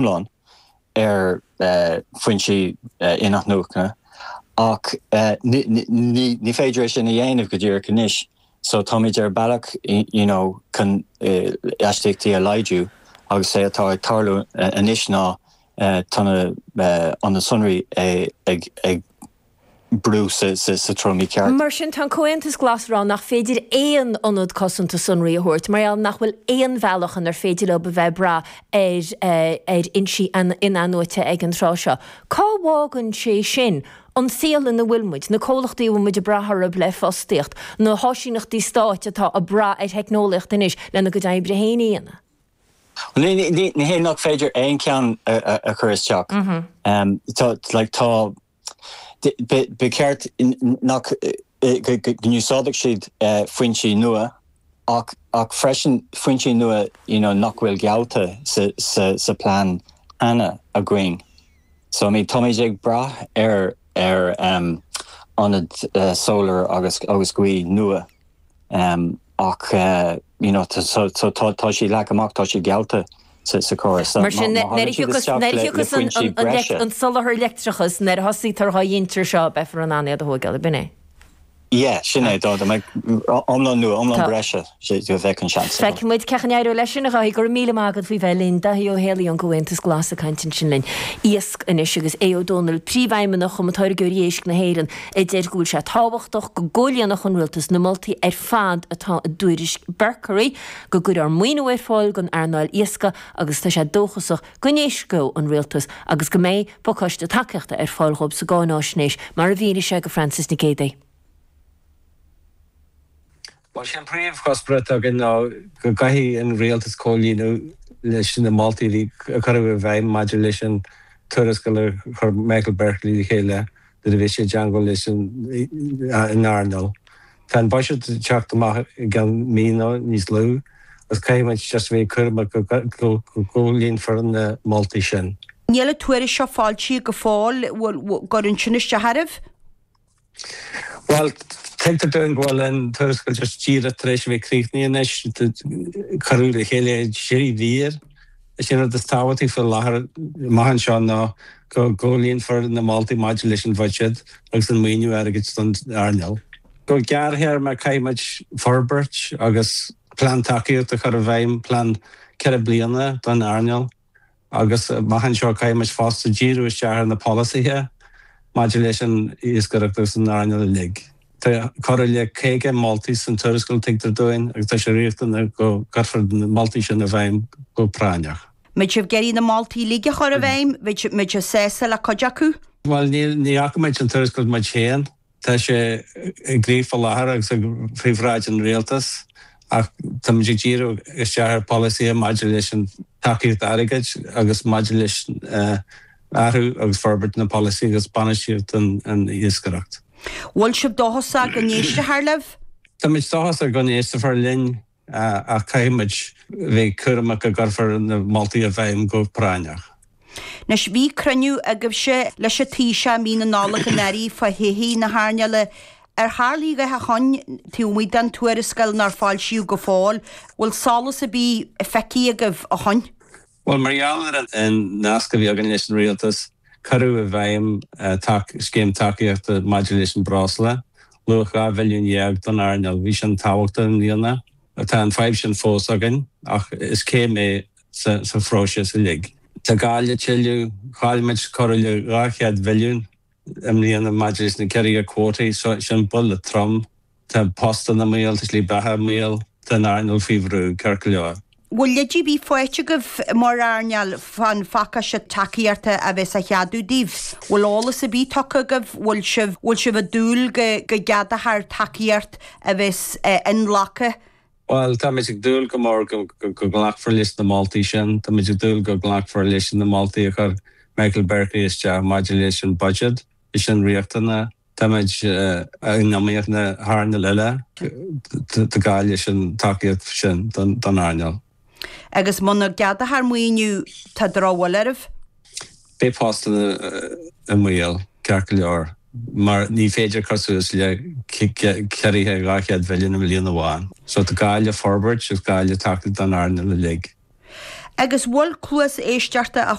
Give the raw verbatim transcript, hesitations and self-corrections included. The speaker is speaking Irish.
iomlán ar foinsí inathnuachana ach ní féidir é sin a dhéanamh go díreach anois. So táimid ar bealach you know, chun astaíochtaí a laghdú agus é atá ag tarlú anois ná tá na sonraí ag ag brú sa sa treo mícheart. Mar sin tá an Comhaontas Glas ag rá nach féidir aon ionad cosanta sonraí a thabhairt, mar nach bhfuil aon bhealach inar féidir leo a bheith ag brath ar ar fhoinsí inathnuaite ag an tráth seo. Cá bhfágann sé sin an saol ina bhfuil muid, na comhlachtaí a bhfuil muid ag brath orthu le fostaíocht, na háisíneachtaí stáit atá ag brath ar theicneolaíocht anois lena gcuid oibre féin a dhéanamh? Ní hé nach féidir aon cheann a chur isteach. Tá ba cheart nach go n-úsáidfeadh siad foinsí nua ach ach freisin foinsí nua you know, nach bhfuil geallta sa, sa, sa plean cheana againn. So I mean, táimid ag brath ar ar um, ionad uh, solar agus agus gaoth nua um, ach uh, you know, so, so tá tá sí leagtha amach tá sí geallta sa sa chóras. Mar sin an soláthar leictreachais nuair a thosaítear á dhéanamh seo beifear in ann iad a thógáil b'in é. Yeah, sin é dá iomlán nua iomlán breise go bheith an seans. Feicfimid cén chaoi a n-éireoidh leis sin a Dhaithí go raibh míle maith agat faoi bheith linn Daithí Ó Héalaí ón gComhaontas Glas ag caint ansin linn. Iasc anois agus Aodh Ó Dónaill príomhfheidhmeannach Chumann Táirgeoirí Éisc na hÉireann a deir go bhfuil sé tábhachtach go gcomhlíonfadh an rialtas na moltaí ar fad atá i dtuairisc Berkery, go gcuirfear maoiniú ar fáil don earnáil iascaigh agus tá sé dóchasach go n-éistfidh an rialtas agus go mbeidh pacáiste tacaíochta ar fáil dhóibh sa gcáináisnéis mar a mhínigh sé go Francis Nic Géadaigh. Well sin príomhchuspóir atá againn ná go gcaithfidh an rialtas comhlíonadh leis na moltaí a cuireadh i bhfeidhm maidir leis an tuarascáil a chuir Michael Berkeley le chéile nuair a bhí sé i dteagmháil leis an earnáil. Tá an buiséad ag teacht amach i gceann mí nó níos lú agus caithfidh muid just bheith cúramach go gcomhlíonfar na moltaí sin. Níl an tuairisc seo foilsithe go fóill gcuireann sin isteach oraibh? Well, tuigtear dúinn go bhfuil an tuarascáil just díreach tar éis a bheith críochnaithe anois, cuireadh le chéile trí mhír. Is é an rud is tábhachtaí faoi láthair amach anseo ná go gcomhlíonfar na moltaí maidir leis an bhuiséad agus an maoiniú airgid don earnáil. Go gearrthéarma caithfidh muid forbairt agus plean tacaíochta a chur i bhfeidhm, plean ceithre bliana don earnáil. Agus amach anseo caithfidh muid fosta díriú isteach ar na polasaithe maidir leis an iascaireacht agus an earnáil uilig. Tá corradh le caoga moltaí san tuarascáil tuigtear dúinn agus tá sé riachtanach go gcuirfear na moltaí sin i bhfeidhm go práinneach. Mbeidh sibh ag iarraidh na moltaí uilig a chur i bhfeidhm, mbeidh sibh sásta le cuid acu? Bhuel ní fhaca muid an tuarascáil muid féin. Tá sé i gcrích faoi láthair agus faoi bhráid an rialtais ach táimid ag díriú isteach ar pholasaithe maidir leis an tacaíocht airgid agus maidir leis athrú agus forbairt na polasaí agus bainistíocht an iascaireacht. Bhfuil sibh dóchasach go n-éistfear libh? Táimid dóchasach go n-éistfear linn ach caithfidh muid bheith cúramach go gcuirfear na moltaí i bhfeidhm go práinneach. Anois, bhí cruinniú agaibhse leis an Taoiseach mí na Nollag anuraidh fá thodhchaí na hearnála. Ar tharla a dhath ó shin, taobh amuigh den tuarascáil nár foilsíodh go fóill, bhfuil solas ar bith feicthe agaibh ó shin? Bhuel, mar gheall ar an nasc a bhí againn leis an rialtas, cuireadh i bhfeidhm scéim tacaíochta maidir leis an breosla, luach dhá bhilliún dhéag don earnáil. Bhí sin tábhachtach i mbliana. Tá an fadhb sin fós againn ach is céim é sa phróiseas uilig. Tá gá le tuilleadh, chaill muid corradh le dhá chéad bhilliún i mbliana maidir leis na ciorruithe cuótaí, sin buille trom. Tá postanna i mbaol, tá slí beatha i mbaol, tá an earnáil faoi bhrú, ceart go leor. Bhfuil leid ar bith faighte agaibh mar earnáil fán phacáiste tacaíochta a bheas á cheadú daoibh? Bhfuil eolas ar bith tugtha agaibh? Bhfuil sibh bhfuil sibh ag dúil go go gceadófar tacaíocht a bheas inghlactha? Bhuel, táimid ag dúil go mór go nglacfar leis na moltaí sin. Táimid ag dúil go nglacfar leis na moltaí a chuir Michael Berkeley isteach maidir leis an budget. Is sin riachtanach. Táimid in iomaíocht le hearnáil eile. Tá gá leis an tacaíocht sin don earnáil. Agus muna gceadófar maoiniú, tá drochbhuille oraibh? Beidh postanna i mbaol, ceart go leor, mar ní féidir cur suas le ciorruithe dhá chéad mhilliún i mbliain amháin. So tá gá le forbairt agus gá le tacaíocht don earnáil uilig. Agus bhfuil cluas éisteachta a